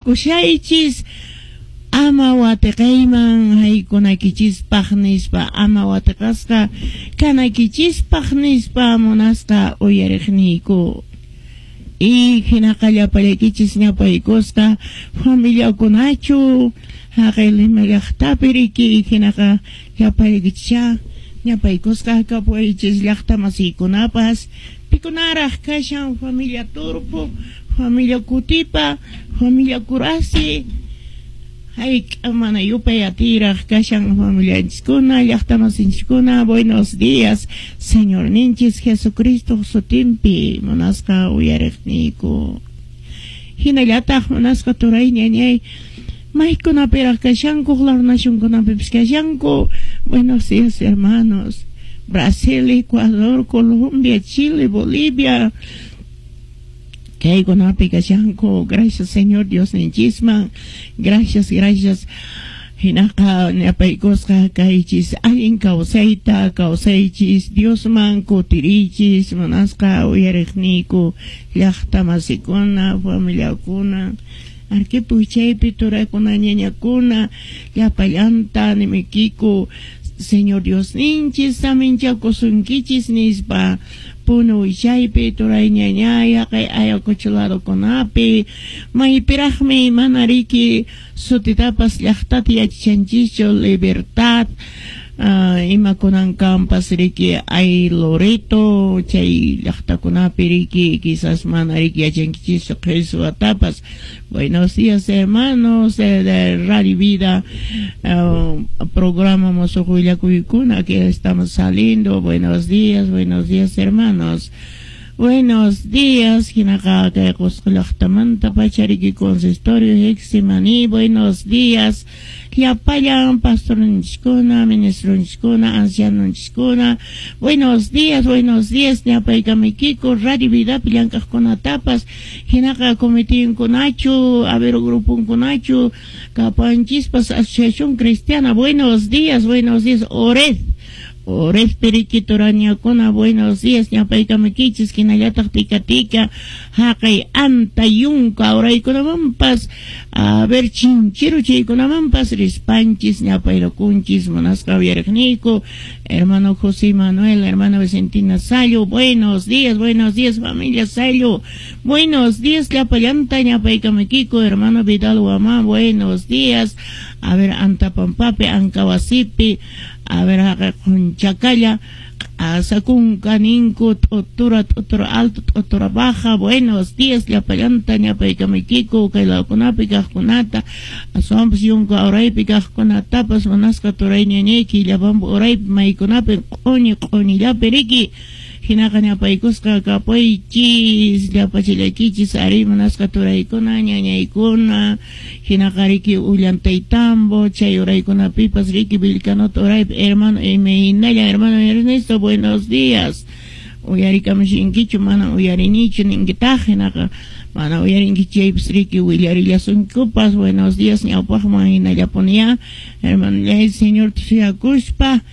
Kushaychis ama watiqayman haykunakichispaq nispa, ama watiqasqa kanakichispaq nispa, munasqa uyariqniyku. Y hinaqa llapallaykichis ñapaykusqa familiakunachu haqay Lima llaqtapi riki, hinaqa llapallaykichischá ñapaykusqa kapuwaychis llaqta masiykunapas, pikunaraq kashan familia Turpo, familia Kutipa, familia Kurasi, hayk'a mana yupay atiraq kashan familianchiskuna, llaqta masinchiskuna. Buenos días, Señorninchis Jesucristo sutinpi, munasqa uyariqniyku. Hinallataq munasqa turay ñañay, maykunapiraq kashanku, huk nacionkunapipis kashanku. Buenos días, hermanos. Brasil, Ecuador, Colombia, Chile, Bolivia, kaykunapi kashanku. Gracias, Señor Dios ninchisman. Gracias, gracias. Hinaqa ñapaykusqa kaychis, allin kawsayta kawsaychis, Diosman kutirichis, munasqa uyariqniyku, llaqta masikuna, familiakuna, Arquipo chaypi turakuna, ñañakuna, llapallanta nimikiku, Señor Dios ninchis saminchakusunkichis nispa. Puno chaypi turay ñañay, haqay Ayacucho ladokunapi, maypiraqmi mana riki sutitapas llaqtata yachanchischu, Libertad, imakunan kampas riki ay Loreto, chay llaqtakunapi riki quizás mana riki yachankichischu qhichwatapas. Buenos días, hermanos de Radio Vida, programa Mosuq Willakuykuna que estamos saliendo. Buenos días, hermanos. Buenos días, hinaqa kay Qusqu llaqtamanta pachariki consistorio Getsemaní. Buenos días, llapallan pastorninchiskuna, ministronchiskuna, ancianonchiskuna. Buenos días, buenos días, ñapaykamuykiku Radio Vidapi llank'aqkunatapas, hinaqa comitinkunachu, a ver, gruponkunachu, kapanchispas Asociación Cristiana. Buenos días, buenos días, Ored. Ored periki turañakuna, buenos días, ñapaykamukichis, hinallataq tika tika, haqay anta yunka uraykunamanpas, a ver, chinchiru chaykunamanpas rispanchis, ñapayrukunchis, munasqa uyariqniyku, hermano José Manuel, hermano Vicentina Sayo, buenos días, familia Sayo, buenos días, llapallanta ñapaykamukiku, hermano Vidal Guamán, buenos días, a ver, Antapampapi, Ancawasipi, a ver, haqay Qunchakalla, Asakunka ninku, t'utura, t'utura alto, t'utura baja, buenos días, llapallanta ñapaykamukiku, kay lawkunapi kaqkunata, aswanpas yunka uraypi kaqkunatapas, munasqa turay ñañayki, llapampa uraypi maykunapi q'uñi q'uñillapi riki, hinaqa ñapaykusqa kapuychis, llapachillaykichis, ari munasqa turaykuna, ñañaykuna, hinaqa riki Ullantaytambo, chay uraykunapipas riki Vilcanota uraypi, hermano imaynalla, hermano Ernesto, buenos días, uyarikamushinkichu, mana uyarinichu ninkitaq, hinaqa mana uyarinkichu chaypas riki willarillasunkupas, buenos días, ñawpaqman hinallapunya, hermano Señor tusiyakuspa,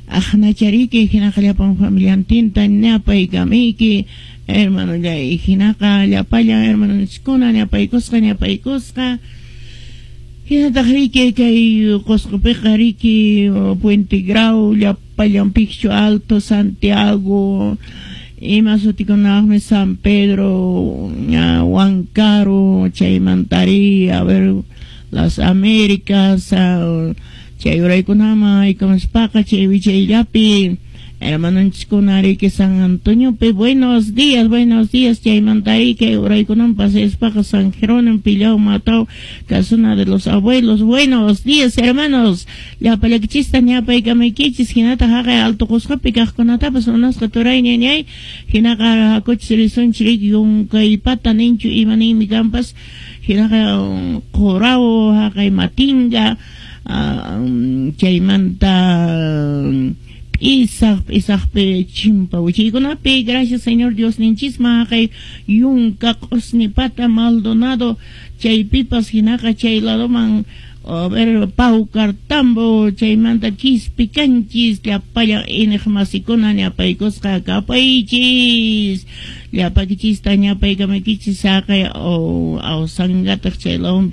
aqnachariki, hinaqa llapan familiantinta ñapaykamiyki, hermano llay, hinaqa llapallan hermanonchiskuna ñapaykusqa, ñapaykusqa, hinataq riki kay Qusqupiqa riki Puente Grau, llapallan Picchu Alto, Santiago, ima sutikunaqmi San Pedro, Huancaro, chaymantari, a ver, las Américas, chay uraykunaman haykamuspaqa chay wichayllapi hermanonchiskuna riki San Antoniopi, buenos días, chaymanta kay uraykunaman pasaspaqa San Jerónimo, Pillao, Matao, casuna de los abuelos, buenos días, hermanos, llapallakichista ñapaykamaykichis, hinataq haqay Alto Qusqupi kaqkunatapas munasqa turay ñañay, hinaqa hakuchis risunchik riki yunkaypata ninchu ima ninmi kanpas, hinaqa Qurao, haqay Matinga, chaymanta P'isaq, p'isaqpi chimpa wichaykunapi, gracias Señor Dios ninchisman, haqay yunka q'usnipata Maldonado, chaypipas hinaqa chay ladoman A ver, Paucartambo, chaymanta Quispicanchis, llapallan iñiqmasikuna ñapaykusqa kapaychis. Llapakichista ñapaykamakichis saqay o Ausangatac chay lawpi.